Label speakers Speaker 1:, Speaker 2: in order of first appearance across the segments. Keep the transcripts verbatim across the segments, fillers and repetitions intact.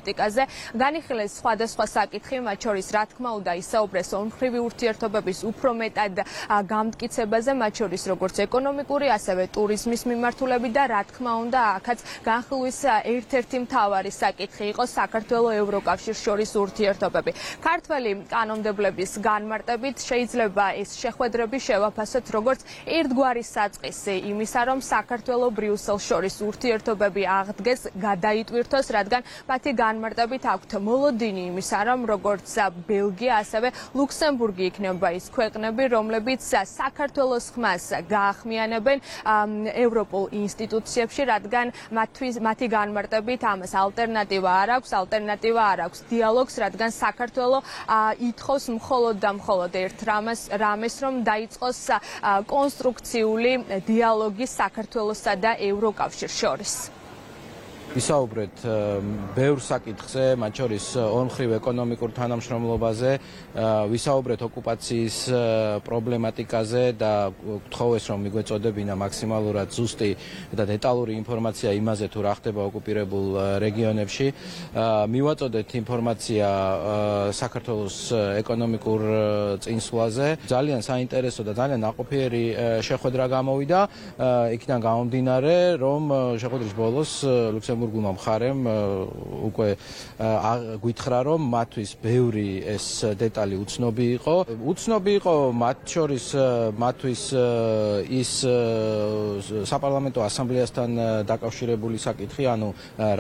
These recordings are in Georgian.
Speaker 1: პოლიტიკაზე. განიხილეს სხვადასხვა საკითხი, მათ შორის რა თქმა უნდა ისაუბრეს ორმხრივი ურთიერთობების უფრო მეტად გამტკიცებაზე, მათ შორის როგორც ეკონომიკური, ასევე ტურიზმის მიმართულებით და რა თქმა უნდა აქაც განხილვის ერთ-ერთი მთავარი საკითხი იყო საქართველოს ევროკავშირს შორის ურთიერთობები. ქართველი კანონმდებლების განმარტებით შეიძლება ეს შეხვედრები შევაფასოთ როგორც ერთგვარი საწყისი იმისა, რომ საქართველოს ბრიუსელს შორის ურთიერთობები აღდგეს, გადაიტვირთოს, რადგან მათი განმარტებით აქვთ მოლოდინი იმისა, რომ როგორც ბელგია, ასევე ლუქსემბურგი იქნება ის ქვეყნები, რომლებიც საქართველოს ხმას გაახმიანებენ ევროპულ ინსტიტუციებში, რადგან მათი განმარტებით ამას ალტერნატივა არ აქვს, ალტერნატივა არ აქვს დიალოგს, რადგან საქართველოს ითხოვს მხოლოდ და მხოლოდ ერთ რამეს, რომ დაიწყოს კონსტრუქციული დიალოგი საქართველოსა და ევროკავშირს შორის.
Speaker 2: ვისაუბრეთ ბევრ საკითხზე, მათ შორის ორმხრივ ეკონომიკურ თანამშრომლობაზე, ვისაუბრეთ ოკუპაციის პრობლემატიკაზე და გთხოვეს, რომ მიგვეწოდებინა მაქსიმალურად ზუსტი და დეტალური ინფორმაცია იმაზე, თუ რა ხდება ოკუპირებულ რეგიონებში. მივაწოდეთ ინფორმაცია საქართველოს ეკონომიკურ წინსვლაზე. ძალიან საინტერესო და ძალიან ნაყოფიერი შეხვედრა გამოვიდა. იქიდან გამომდინარე, რომ შეხვედრის ბოლოს ლუქსემბურგ გულმა მხარემ უკვე გითხრა, რომ მათთვის ბევრი ეს დეტალი უცნობი იყო. უცნობი იყო მათ შორის მათთვის ის საპარლამენტო ასამბლეასთან დაკავშირებული საკითხი, ანუ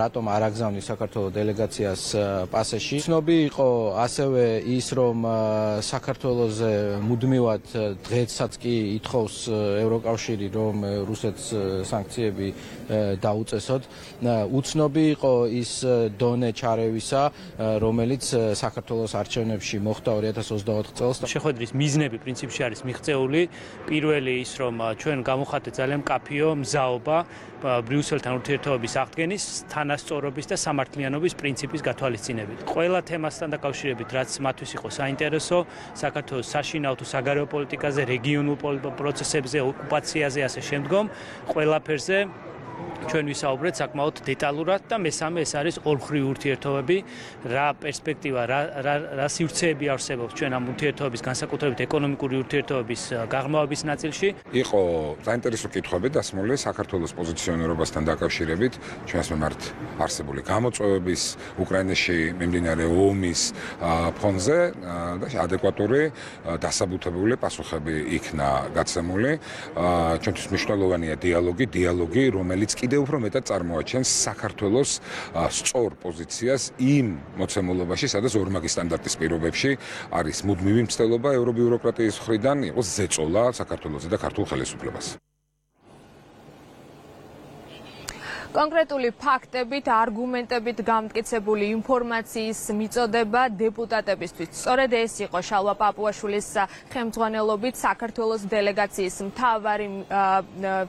Speaker 2: რატომ არ აგზავნის საქართველოს დელეგაციას პასეში. უცნობი იყო ასევე ის, რომ საქართველოზე მუდმივად დღესაც კი ითხოვს ევროკავშირი, რომ რუსეთს სანქციები დაუწესოთ. უცნობი იყო ის დონე ჩარევისა, რომელიც საქართველოს არჩევნებში მოხდა ორი ათას ოცდაოთხ წელს.
Speaker 3: შეხვედრის მიზნები პრინციპში არის მიღწეული. პირველი ის, რომ ჩვენ გამოვხატეთ ძალიან მკაფიო მზაობა ბრიუსელთან ურთიერთობების აღდგენის, თანასწორობის და სამართლიანობის პრინციპის გათვალისწინებით. ყველა თემასთან დაკავშირებით, რაც მათთვის იყო საინტერესო, საქართველოს საშინაო თუ საგარეო პოლიტიკაზე, რეგიონულ პროცესებზე, ოკუპაციაზე, ასე შემდგომ, ყველაფერზე ჩვენ ვისაუბრეთ საკმაოდ დეტალურად და მესამე ეს არის ორმხრივი ურთიერთობები, რა პერსპექტივა, რა რა სივრცეები არსებობს ჩვენ ამ ურთიერთობების, განსაკუთრებით ეკონომიკური ურთიერთობების გაღრმავების ნაწილში.
Speaker 4: იყო საინტერესო კითხვები დასმული საქართველოს პოზიციონირებასთან დაკავშირებით, ჩვენს მიმართ არსებული გამოწვევების, უკრაინაში მიმდინარე ომის ფონზე და ადეკვატური დასაბუთებული პასუხები იქნა გაცემული. ჩვენთვის მნიშვნელოვანია დიალოგი, დიალოგი, რომელიც კიდევ უფრო მეტად წარმოაჩენს საქართველოს სწორ პოზიციას იმ მოცემულობაში, სადაც ორმაგი სტანდარტის პირობებში არის მუდმივი მცდელობა ევრობიუროკრატიის მხრიდან იყოს ზეწოლა საქართველოსზე და ქართულ ხელისუფლებას.
Speaker 1: კონკრეტული ფაქტებით, არგუმენტებით გამტკიცებული ინფორმაციის მიწოდება დეპუტატებისთვის. სწორედ ეს იყო შალვა პაპუაშვილის ხელმძღვანელობით საქართველოს დელეგაციის მთავარი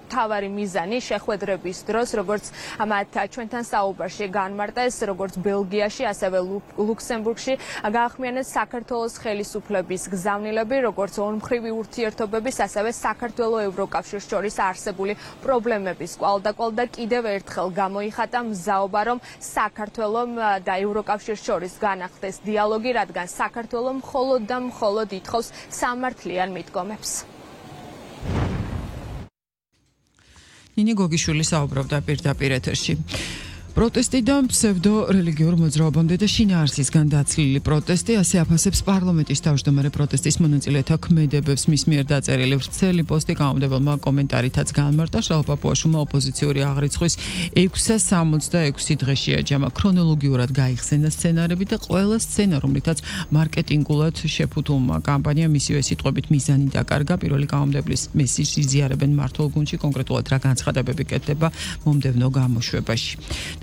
Speaker 1: მთავარი მიზანი შეხვედრების დროს, როგორც მათ ჩვენთან საუბარში განმარტეს, როგორც ბელგიაში, ასევე ლუქსემბურგში გაახმიანეს საქართველოს ხელისუფლების გზავნილები, როგორც ორმხრივი ურთიერთობების, ასევე საქართველოს ევროკავშირს შორის არსებული პრობლემების კვალდაკვალ და კიდევ ერთხელ გამოიხატა მზაობა, რომ საქართველოს და ევროკავშირს შორის განახდეს დიალოგი, რადგან საქართველოს მხოლოდ და მხოლოდ ითხოვს სამართლიან მიდგომებს.
Speaker 5: ნინი გოგიშვილი საუბრობდა პირდაპირ ეთერში. პროტესტი და ფსევდო რელიგიურ მოძრაობამდე და შინაარსისგან დაცლილი პროტესტი, ასე აფასებს პარლამენტის თავმჯდომარე პროტესტის მონაწილეთა ქმედებებს. მის მიერ დაწერილი ვრცელი პოსტი გამომდებელმა კომენტარითაც განმარტა. შალვა პაპუაშვილმა ოპოზიციური აღრიცხვის ექვსას სამოცდაექვსი დღეში აჯამა, ქრონოლოგიურად გაიხსენა სცენარები და ყველა სცენა, რომლითაც მარკეტინგულად შეფუთულმა კამპანიამ მისივე სიტყვებით მიზანი დაკარგა. პირველი გამომდებლის მესიჯს იზიარებენ მმართველ გუნდში, კონკრეტულად რა განცხადებები კეთდება მომდევნო გამოშვებაში.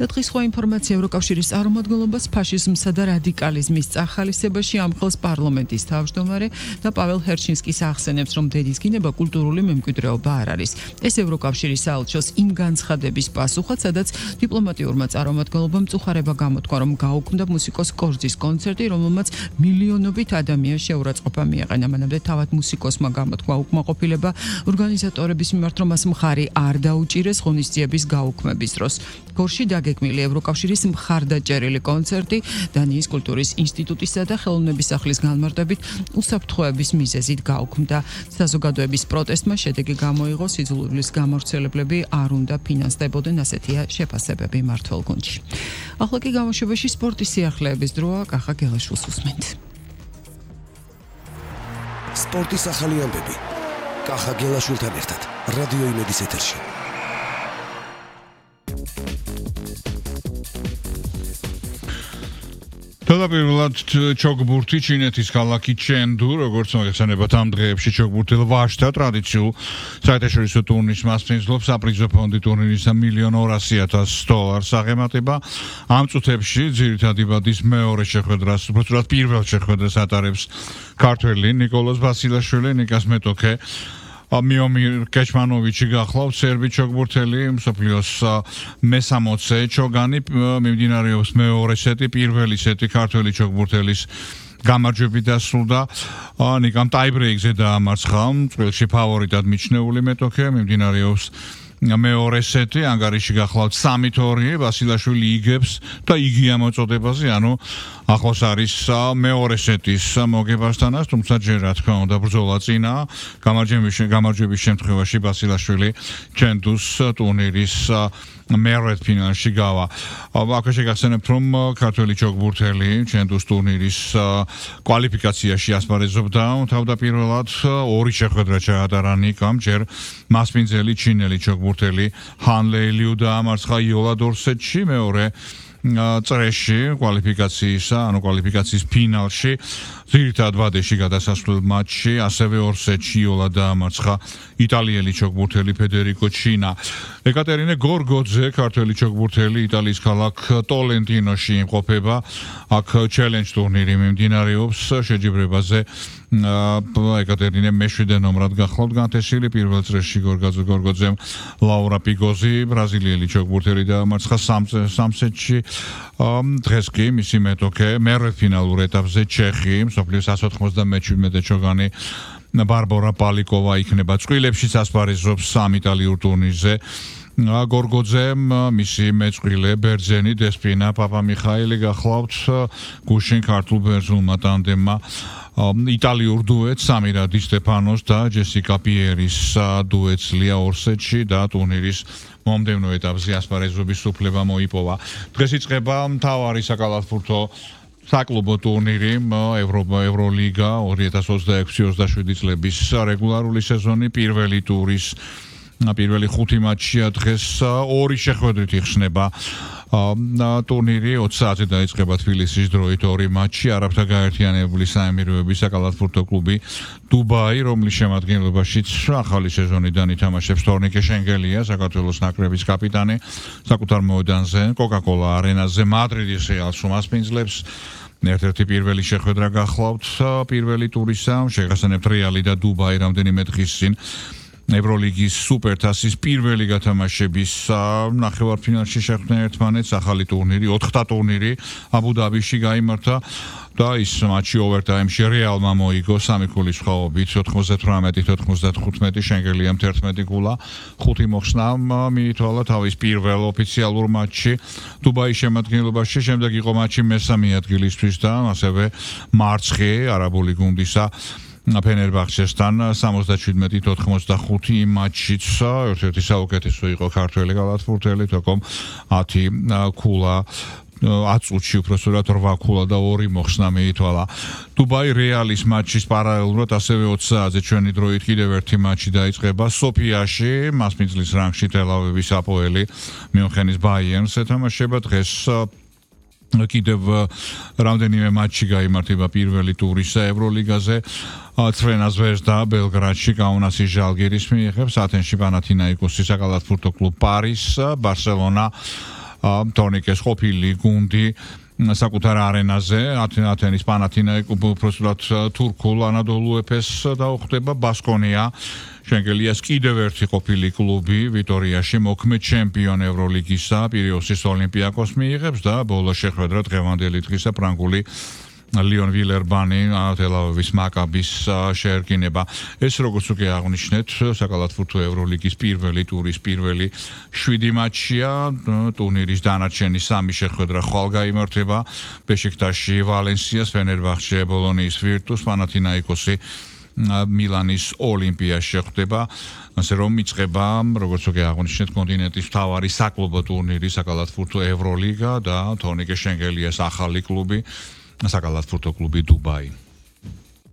Speaker 5: და დღის სხვა ინფორმაცია ევროკავშირის წარმომადგენლობას ფაშიზმსა და რადიკალიზმის წახალისებაში ამხელს პარლამენტის თავმჯდომარე და პაվել ჰერჩინსკის ახსენებს, რომ დედის გინება კულტურული მემკვიდრეობა არ არის. ეს ევროკავშირის საელჩოს იმ განცხადების პასუხად, სადაც დიპლომატიურმა წარმომადგენლობამ მწუხარება გამოთქვა, რომ გაუქმდა მუსიკოს კორძის კონცერტი, რომელმაც მილიონობით ადამიანს შეურაცხყოფა მიაყენა. მანამდე თავად მუსიკოსმა გამოთქვა უკმაყოფილება ორგანიზატორების მიმართ, რომ მას მხარი არ დაუჭირეს ღონისძიების გაუქმების დროს. გორში დაგეგმილი ევროკავშირის მხარდაჭერილი კონცერტი დანიის კულტურის ინსტიტუტისა და ხელოვნების სახლის განმარტებით უსაფრთხოების მიზეზით გაუქმდა. საზოგადოების პროტესტმა შედეგი გამოიღო, სიძულვილის გამავრცელებლები არ უნდა ფინანსდებოდნენ, ასეთია შეფასებები მმართველ გუნდში. ახლა კი გამოშვებაში სპორტის სიახლეების დროა, კახა გელაშვილს უსმენთ.
Speaker 6: სპორტის ახალი ამბები. კახა გელაშვილთან ერთად რადიო იმედის ეთერში.
Speaker 7: თავდაპირველად ჩოგბურთი ჩინეთის ქალაქი ჩენდუ, როგორც მოგეხსენებათ ამ დღეებში ჩოგბურთელ ვაჟთა ტრადიციულ საერთაშორისო ტურნირს მასპინძლობს საპრიზო ფონდი ტურნირის მილიონ ორასი ათას დოლარს აღემატება. ამ წუთებში ძირითადი ბადის მეორე შეხვედრას, უბრალოდ პირველ შეხვედრას ატარებს ქართველი ნიკოლოზ ვასილაშვილი, ნიკას მეტოქე. მიომირ კეჩმანოვიჩი გახლავთ სერბი ჩოგბურთელი, მსოფლიოს მესამოცე ჩოგანი, მიმდინარეობს მეორე სეტი, პირველი სეტი ქართველი ჩოგბურთელის გამარჯვებით დასრულდა. ნიკამ ტაიბრეიკზე დაამარცხა, წვრილში ფავორიტად მიჩნეული მეტოქე, მიმდინარეობს მეორე სეტი, ანგარიში გახლავთ სამი თორი, ვასილაშვილი იგებს და იგია მოწოდებაზე, ანუ ახლოს არის მეორე სეტის მოგებასთანაც, თუმცა ჯერ რა თქმა უნდა ბრძოლა წინა, გამარჯვების შემთხვევაში ვასილაშვილი ჩენდუს ტურნირის მერვედ ფინალში გავა. აქ შეგახსენებთ, რომ ქართველი ჩოგბურთელი ჩენდუს ტურნირის კვალიფიკაციაში ასპარეზობდა, თავდაპირველად ორი შეხვედრა ჩაატარა ნიკამ, ჯერ მასპინძელი ჩინელი ჩოგბურთელი ჰან ლეილიუ დაამარცხა იოლა დორსეტში, მეორე წრეში კვალიფიკაციისა, ანუ კვალიფიკაციის ფინალში, ძირითად ვადეში გადასასვლელ მატჩში, ასევე ორ სეტში იოლა დაამარცხა იტალიელი ჩოგბურთელი ფედერიკო ჩინა. ეკატერინე გორგოძე, ქართველი ჩოგბურთელი, იტალიის ქალაქ ტოლენტინოში იმყოფება. აქ ჩელენჯ ტურნირი მიმდინარეობს, შეჯიბრებაზე ეკატერინე მეშვიდე ნომრად გახლავთ განთესილი, პირველ წრეში გორგოძემ ლაურა პიგოზი, ბრაზილიელი ჩოგბურთელი დაამარცხა სამ სეტში. დღეს კი მისი მეტოქე მერვედფინალურ ეტაპზე ჩეხი, მსოფლიოს εκατს ოცდამეჩვიდმეტე ჩოგანი ბარბორა პალიკოვა იქნება წყვილებშიც ასპარეზობს ამ იტალიურ ტურნირზე. გორგოძემ მისი მეწყვილე ბერძენი დესპინა პაპამიხაელი გახლავთ გუშინ ქართულ ბერძნულმა ტანდემმა იტალიურ დუეტს სამირა დი სტეფანოს და ჯესიკა პიერის დუეტს ლია ორ სეტში და ტურნირის მომდევნო ეტაპზე ასპარეზობის უფლება მოიპოვა. დღეს იწყება მთავარი საკალათბურთო საკლუბო ტურნირი ევროპა ევროლიგა ორი ათას ოცდაექვსი ოცდაშვიდი წლების რეგულარული სეზონი პირველი ტურის პირველი ხუთი მატჩია დღეს ორი შეხვედრით იხსნება. ტურნირი ოცი საათზე დაიწყება თბილისის დროით ორი მატჩი, არაბთა გაერთიანებული საემიროების საკალათბურთო კლუბი დუბაი, რომლის შემადგენლობაშიც ახალი სეზონიდან ითამაშებს თორნიკე შენგელია, საქართველოს ნაკრების კაპიტანი, საკუთარ მოედანზე, კოკა-კოლა არენაზე მადრიდის რეალს უმასპინძლებს. ერთ-ერთი პირველი შეხვედრა გახლავთ პირველი ტურისა, შეგახსენებთ რეალი და დუბაი რამდენიმე დღის წინ ევროლიგის სუპერთასის პირველი გათამაშების ნახევარფინალში შეხვდნენ ერთმანეთს, ახალი ტურნირი, ოთხთა ტურნირი აბუ-დაბიში გაიმართა და ის მატჩი ოვერთაიმში რეალმა მოიგო სამი ქულის სხვაობით ოთხმოცდათვრამეტი ოთხმოცდათხუთმეტი შენგელიამ თერთმეტი ქულა, ხუთი მოხსნა მიითვალა თავის პირველ ოფიციალურ მატჩში დუბაის შემადგენლობაში, შემდეგ იყო მატჩი მესამე ადგილისთვის და ასევე მარცხი არაბული გუნდისა ფენერბახჩესთან სამოცდაშვიდმეტი ოთხმოცდახუთი მატჩიც ერთ-ერთი საუკეთესო იყო ქართველი კალათბურთელი, თქო ათი ქულა ათ წუთში უпроსტად რვა ქულა და ორი მოხსნა მიითვალა. დუბაი რეალის მატჩის პარალელურად ასევე ოცი საათზე ჩვენი დროით კიდევ ერთი მატჩი დაიწყება სოფიაში, მასპინძლის რანგში თელ-ავივის აპოელი მიუნხენის ბაიერნს ეთამაშება. დღეს კიდევ რამდენიმე მატჩი გაიმართება პირველი ტურისა ევროლიგაზე. ცრვენა ზვეზდა ბელგრადში კაუნასის ჟალგირის მიიღებს, ათენში პანათინაიკოსის საკალათბურთო კლუბ პარის, ბარსელონა თორნიკეს ყოფილი გუნდი საკუთარ არენაზე ათენის პანათინაიკოს უბრალოდ თურქულ ანადოლუ ეფეს დაუხდება. ბასკონია შენგელიას კიდევ ერთი ყოფილი კლუბი ვიტორიაში მოქმედ ჩემპიონ ევროლიგისა პირეოსის ოლიმპიაკოს მიიღებს და ბოლო შეხვედრა დღევანდელი დღისა ფრანგული Lion Villerbani თელ-ავივის მაკაბის შეერკინება. ეს როგორც უკვე აღნიშნეთ, საკალათბურთო ევროლიგის პირველი ტურის პირველი შვიდი მატჩია. ტურნირის დანარჩენი სამი შეხვედრა ხვალ გაიმართება. ბეშიქტაში ვალენსიას, ფენერბახჩე, ბოლონიის ვირტუს, პანათინაიკოსი მილანის ოლიმპიას შეხვდება. ასე რომ იწყება, როგორც უკვე აღნიშნეთ, კონტინენტის მთავარი საკლუბო ტურნირი, საკალათბურთო ევროლიგა და თორნიკე შენგელიას ახალი კლუბი, საკალათბურთო კლუბი დუბაი.